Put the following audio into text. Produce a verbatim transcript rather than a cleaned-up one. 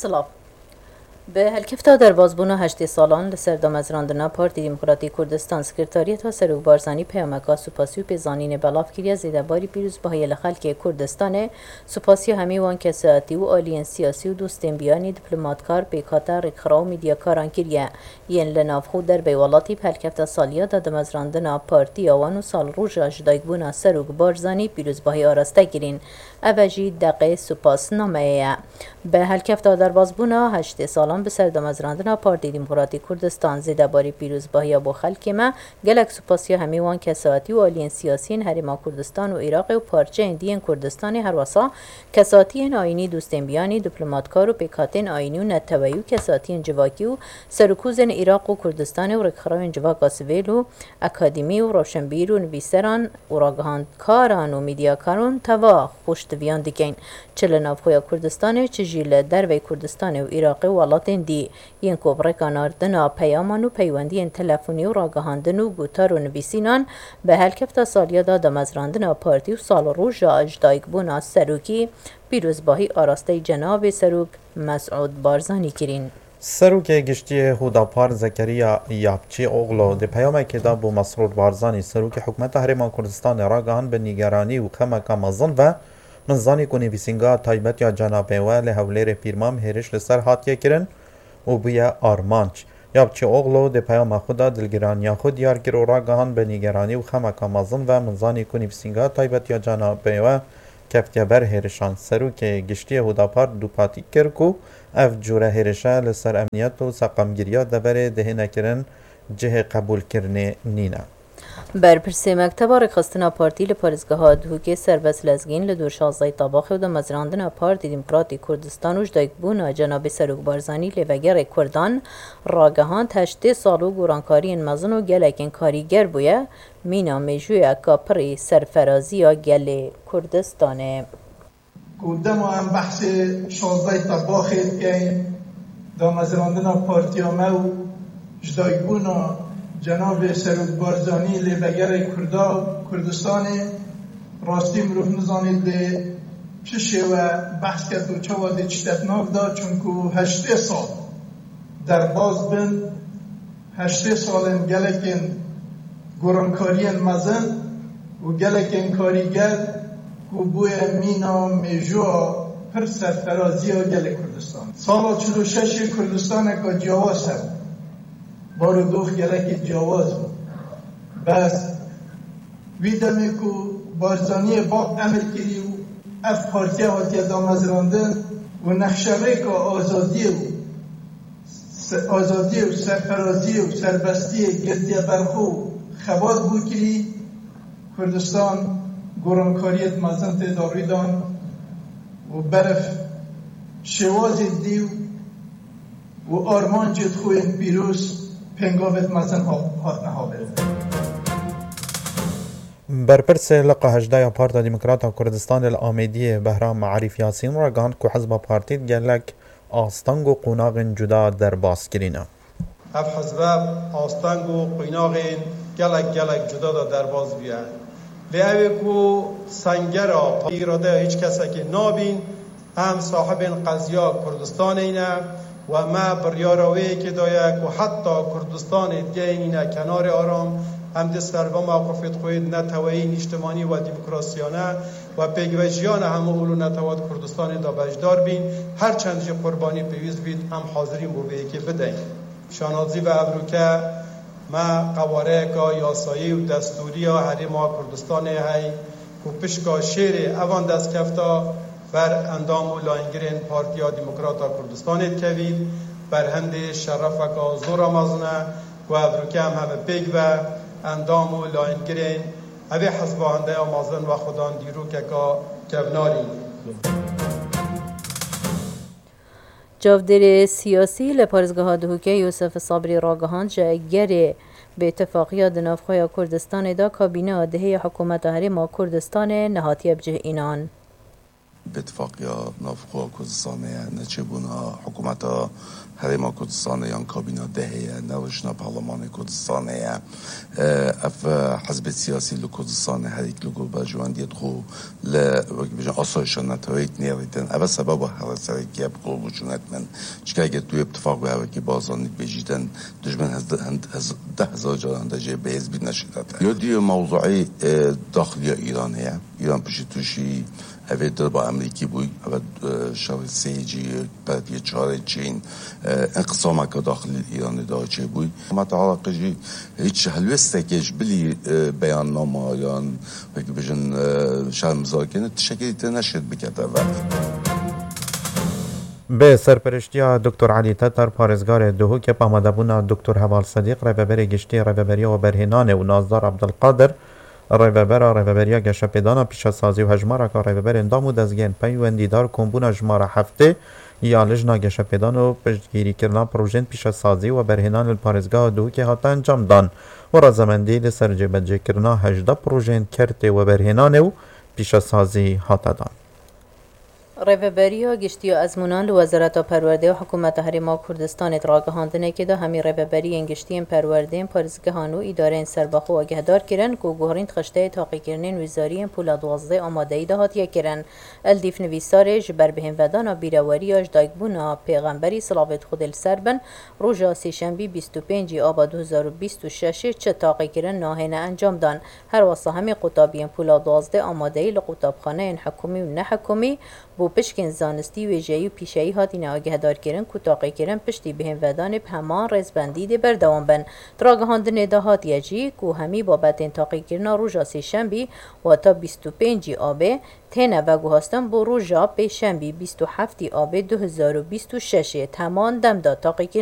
Silav. Bi helkefta derbazbûna heştê salan li ser damezrandina Partî Demokratîk Kurdistan, Sekretariyeta Serok Barzanî peyameka supasî û pêzanînê belav kiriye zêdebarî pîrozbahiyê li xelkê Kurdistanê, supasiya hemî wan kesayetî û aliyên siyasî û dostên biyanî, diplomatkar, pêkhate, rêkxiraw û medyakaran kiriye, yên li navxwe û derbey welatî bi helkefta saliya de damezrandina partiya wan û salroja ji dayikbûna Serok Barzanî pîrozbahî araste kirîn. Ev e jî deqê supasnameyê ye. Bi helkefta derbazbûna heştê salan bi ser damezrandina Partî Demokratîk Kurdistan, zêdebarî pîrozbahiya bo xelkê me, gelek supasiya hemî wan kesayetî û aliyên siyasî yên Herêma Kurdistan û Iraqê û parçeyên dî yên Kurdistanê, herwesa kesatiyên ayînî, dostên biyanî, diplomatkar û pêkhatên ayînî û neteweyî û kesatiyên civakî û serokûzên Iraq û Kurdistanê û rêkxirawên civaka sivîl û akademî û rewşenbîr û nivîseran û ragihandkaran û medyakaran teva xweştiviyan dikeyn. Çi li navxweya Kurdistanê, çi jî li dervey Kurdistanê û Iraqê û welatên dî, yên ku bi rêka nardina peyaman û peywendiyên telefonî û ragihandin û gutar û nivîsînan bi helkefta saliya de damezrandina partî û salroja ji dayikbûna serokî pîrozbahî arasteyî cenabê Serok Mesûd Barzanî kirîn. Serokê Giştî yê Hudapar Zekeriya Yapçîoglu di peyamekê de bo Mesrûr Barzanî, Serokê Hikûmeta Herêma Kurdistanê ragihand, bi nîgeranî û xemeka mezin ve min zanî ku nivîsîngeha taybet ya cenabê we li Hewlêrê Pîrmam hêriş li ser hatiye kirin û bûye armanc. Yapçîoglu di peyama xwe de dilgiraniya xwe diyar kir û ragihand, bi nîgeranî û xemeka mezin ve min zanî ku nivîsîngeha taybet ya cenabê we keftiye ber hêrişan. Serokê Giştî yê Hudapar dûpatî kir ku ev cûre hêrişe li ser emniyet û seqamgiriya deverê dihêne kirin, cihê qebûlkirinê nîne. Berpirsê Mekteba Rêkxistina Partî li parêzgeha Duhokê Serbest Lezgîn li dor şazdehê Tabaxê û damezrandina Partî Demokratîk Kurdistan û ji dayikbûna cenabê Serok Barzanî lê vegerê Kurdan ragihand, heştê sal û gorankariyên mezin û gelekên karîger bûye, mîna mêjûyeka pirî serferaziya gelê Kurdistanê. Ku dema em behsê şazdehê Tebaxê dikeyn, damezrandina partiya me û ji dayikbûna cenabê Serok Barzanî lê vegerê Kurda Kurdistanê, rastî mirov nizanît lê çi şêwe behs ket û çawa dê çîte di nav de, çunku heştê sal derbas bin, heştê salên gelekên gorankariyên mezin û gelekên karîger ku bûye mîna mêjûya pir serferaziya gelê Kurdistan. Sala çil û şeş ê Kurdistaneke ciyawaz hebû. Bar û dox gelekî ciyawaz bû. Bes wî demê ku Barzaniyê bab emir kirî û ev partiye hatiye damezrandin û nexşerêka azadiyê û se-, azadiyê û serferaziyê û serbestiyê girtiye ber xwe û xebat bû kirî, Kurdistan gorankariyê mezin tê de rû dan û berf şêwazê dî û armancê xwe yên pîroz pêngavê mezin ha-, hatine havirin. Berpirsê Liqa hejdeh ya Parta Demokrata Kurdistanê li Amêdiyê Behram Arîf Yasîn ragihand ku hizba partî gelek asteng û qonaxên cuda derbas kirîne. Ev hizbe asteng û qonaxên gelek gelek cuda de derbas bûye. Lê ew ê ku sengera îradeya hiç kesekê nabîn, em sahibên qeziya Kurdistanê ne û me biryara wê yekê daye ku heta Kurdistanê digehînîne kenarê aram, em dê serva mewqifê xwe yê neteweyî, nîştimanî û demokrasiyane û pêkvejiyane hemû ol û netewa di Kurdistanê de beşdar bîn, her çend jî qurbanî pêwîst bît, em hazir în bo vê yekê bideyn. Şanazî ve evroke me qewareyeka yasayî û destûrî ya Herêma Kurdistanê hey ku pişka şêrê evan destkefta ber endam û layîngirên Partiya Demokrata Kurdistanê dikevît, berhemdê şerefeka zora mezin e ku evroke em heme pêk ve endam û layîngirên evê hizba hendeya mezin wexwedan dîrokeka kevnarî. Çavdêrê siyasî li parêzgeha Duhokê Yûsif Sabrî ragihand, ji egerê bêtifaqiya di navxweya Kurdistanê de kabîneya dihê ya Hikûmeta Herêma Kurdistanê nehatiye bicihînan. Bêtifaqiya navxwe Kurdistanê ye, neçêbûna hikûmeta Herêma Kurdistanê yan kabîna dehê ye, nerûştina Parlemanê Kurdistanê ye. E, ev, e, hizbê siyasî li Kurdistanê herîk li gor berjewendiyê xwe li, wek bêjin, asayişa neteweyî nêrîtin. Ev e sebeba here sereke ye bi qul rûçûnet min. Çika eger tu yê bi tifaq wê hevekî Barzanî bêjîtin, dijmin hez-, hin-, hez-, deh hezar caran de jê bêhêz bî neşîrete. Yo dî yo mewzuî, e, daxiliya Îranê ye. Îran piştî tûşî evê dirba Amerîkî bûy, eve, e, şerê sê cî, berpiye çarê çîn, e, enqisama ke daxilî Îranê da çêbûy. Hikûmeta Iraqê jî hiç helwêstekê ji bilî, e, beyannama yan, wekî bijin, e, şermizarkirin, tiştekî tê neşêt bikete ve. Bi serperiştiya Doktor Elî Tetar, parêzgarê Duhokê, bi amadebûna Doktor Heval Sedîq, rêveberê giştî Rêveberiya Weberhênanê û Nazdar Abdulkadir, rêvebera Rêveberiya Geşepêdana, Pîşesazî û hejmareka rêveberên dam û dezgehên peywendîdar kombûna jimara heftê ya Lijna Geşepêdan û piştgirîkirina projeyên pîşesazî û weberhênanê li parêzgeha Duhokê hate encamdan û razemendî li ser cêbecêkirina hejdeh projeyên kertê weberhênanê û pîşesazî hate dan. Rêveberiya Giştî ya Ezmûnan li Wezareta Perwerdê û Hikûmeta Herêma Kurdistanê di ragihandinekê de hemî rêveberiyên giştî yên perwerdeyên parêzgehan û îdareyên serbixwe agehdar kirin ku guherîn di xişteyê taqîkirinên wizariyên pûla duwazdeh amadeyî de hatiye kirin. Li dîf nivîsarê ji ber bihênvedana bîreweriya ji dayikbûna Pêxemberî, silavêt Xwedê li ser bin, roja sêşembî bîst û pêncî aba du hezar û bîst û şeşê çi taqîkirin nahêne encamdan. Her wesa hemî qutabiyên pûla duwazdeh amadeyî li qutabxaneyên hikûmî û nehikûmî bo pişkên zanistî, wêjeyî û pîşeyî hatine agehdarkirin ku taqîkirin piştî bihênvedanê bi heman rêzbendî dê berdewam bin. Di ragihandinê de hatiye jî ku hemî babetên taqîkirina roja sêşembî, wata bîst û pêncî abê, têne veguhastin bo roja pêşembî bîst û heftî abê du hezar û bîst û şeşê. Di heman dem de taqîkirin